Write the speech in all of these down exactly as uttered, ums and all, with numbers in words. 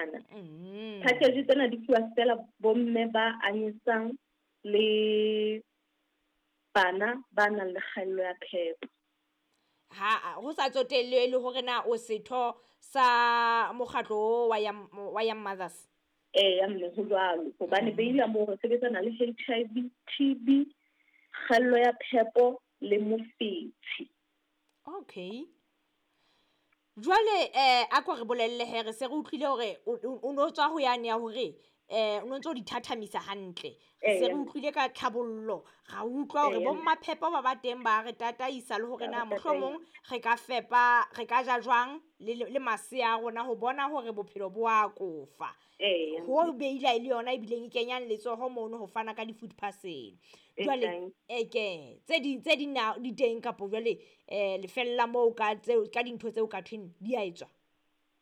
Dinyenyana. Mm. Package tsena di fuwa fela bomme ba anyesang le bana ba nang le kgaello ya phepo. Ha ho sa tsotelle le hore na o setho sa mokgatlo wa Young, wa Young Mothers. Eya mme, ho jwalo. Hobane Mm. Beila moo re sebetsana le H I V, T B, kgaello ya phepo le mofetshe. Okay. Jwale, eh, a ko re bolelle he, re se re utlwile hore o, o, o no tswa ho yane ya hore, eh, o no ntso di thathamisa hantle. Re se re Eya. utlwile ka tlhabollo, ra utlwa hore Eya. bo mmaphepo ba ba teng ba re tataisa le hore Ba na re mohlomong tataisa. re ka fepa, re ka ja jwang le, le, le masea a rona ho bona hore bophelo bo a kofa. Eya. Ho Beila e le yona ebileng e kenyang letsoho mono ho fana ka di-food parcel. Jwale, Exactly. e ke, tse ding, tse ding na di teng kapo jwale, eh, le fella moo ka tseo, ka dintho tseo ka thweng di a etswa?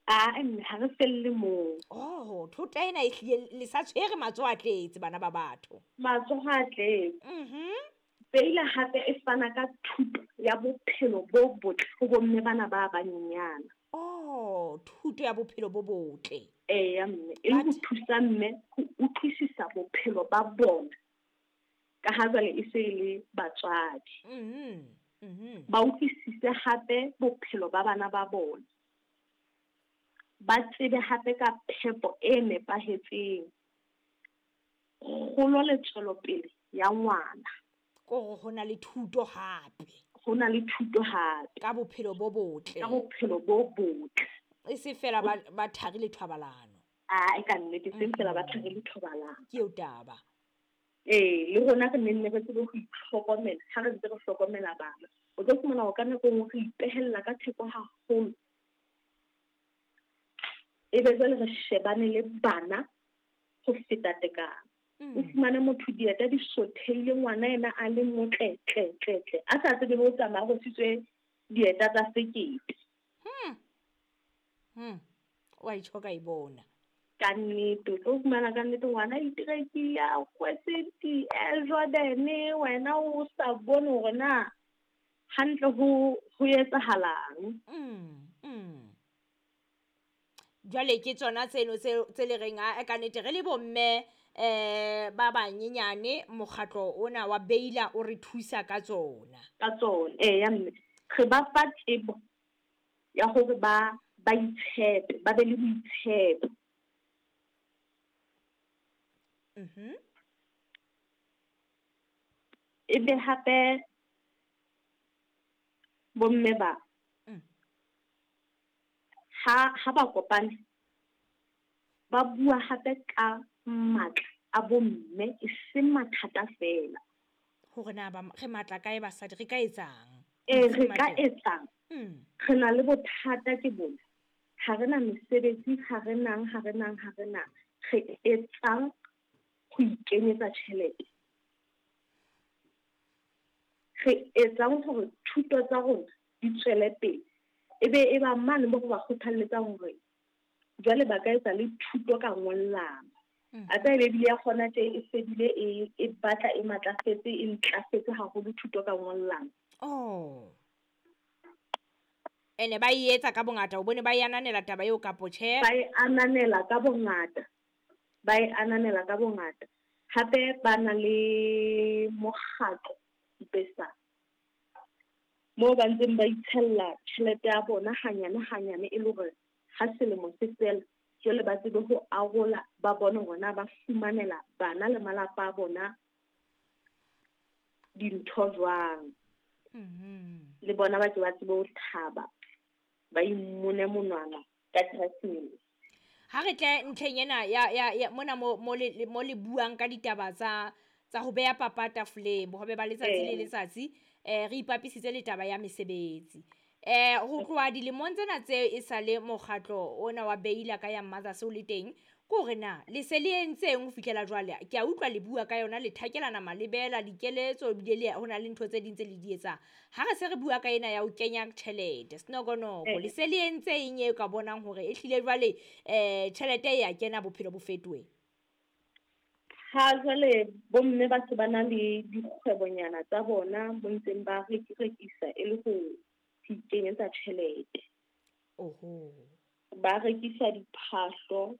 Ah, mme ha re felle moo. Oh, thota ena e hlile le sa tshwere matsoho a tletse bana ba batho. Matsoho a tletse. Mhm. Beila hape e fana ka thuto ya bophelo bo botle ho bomme bana ba banyenyana. Oh, thuto ya bophelo bo botle. Eya mme, e le ho But thusa mme ho utlwisisa bophelo ba bona. Ka ha jwale e se e le batswadi. Mhm. Mhm. Ba utlwisise hape bophelo ba bana ba bona. Ba tsebe hape ka phepo e nepahetseng. Kgolo le tswelopele ya ngwana. Kore ho na le thuto hape. Ho na le thuto hape. Ka bophelo bo botle. Ka bophelo bo botle. E se fela ba, ba thari le thobalano. Ah, e ka nnete, e seng fela ba Mm. thari le thobalano. Ke eo taba. Ee, le rona re nenne re tsebe ho itlhokomela, ha re ntse re hlokomela bana. O tlo fumana hore ka nako e nngwe re ipehella ka theko haholo. Ebe jwale re shebane le bana ho feta tekano. Mm. O fumane motho dieta di sothehile, ngwana yena a le motle, tle, tle, tle. A sa tsebe ho tsamaya, ho rwesitswe dieta tsa sekete. Hmm. Hmm. Wa itjho ka e bona. Ka nnete, o tlo fumana ka nnete ngwana a iterekile, a kwetse di-Air Jordan, wena o sa bone hore na hantle ho, ho etsahalang. Mm, mm. Jwale ke tsona tseno tse, tse le reng, a, ka nnete re le bomme, eh, ba banyenyane, mokgatlo ona wa Beila o re thusa ka tsona. Ka tsona, eya mme. Re ba fa tsebo ya hore ba, ba itshepe, ba be le boitshepo. Mhm. Ebe hape bomme ba Mm. ha, ha ba kopane ba bua hape ka matla a bomme, e seng mathata fela. Hore na ba, re matla kae basadi, re ka etsang? Ee, Re re ka matla. etsang? Mm. Re na le bothata ke bona. Ha re na mesebetsi, ha re nang, ha re nang, ha re nang. Re etsang ho ikenyetsa tjhelete? Re etsang hore thuto tsa rona di tswele pele? Ebe e ba mane moo re ba kgothalletsang hore jwale ba ka etsa le thuto ka ngollano. Mm. A tseba ebile ya kgona tje e fedile e, e batla e matlafetse, e ntlafetse haholo thuto ka ngollano. Oh. Ene ba e etsa ka bongata, o bone ba e ananela taba eo kapo tjhe? Ba e ananela ka bongata. Ba e ananela ka bongata. Hape ba na le mokgatlo Ipesa. Moo ba ntseng ba itshella tjhelete ya bona hanyane hanyane e le hore ha selemo se fela, jwale ba tsebe ho arola, ba bone hore na ba fumanela bana le malapa a bona dintho jwang. Mm-hmm. Le bona ba ke ba tsebe ho thaba, ba imone monwana ka Keresemese. Ha re tle ntlheng ena ya, ya, ya mona mo, mo le, mo le buang ka ditaba tsa, tsa ho beha papa tafoleng, bohobe ba letsatsi le Ee. letsatsi, eh, re ipapisitse le taba ya mesebetsi. Eh, ho tloha dilemong tsena tse e sale mokgatlo ona wa Beila ka ya Mothers o le teng, ke hore na le se le entseng ho fihlela jwale? Ke a utlwa le bua ka yona, le thakelana malebela, dikeletso, ebile le ho na le ntho tse ding tse le di etsang. Ha re se re bua ka ena ya ho kenya tjhelete, senokonoko, Eh. le se le entse eng e ka bonang hore e hlile jwale, eh, tjhelete e ya kena, bophelo bo fetohe? Ha jwale bomme ba se ba na le dikgwebonyana tsa bona bo ntseng ba rekisa e le ho ikenyetsa tjhelete. Oho. Ba rekisa diphahlo,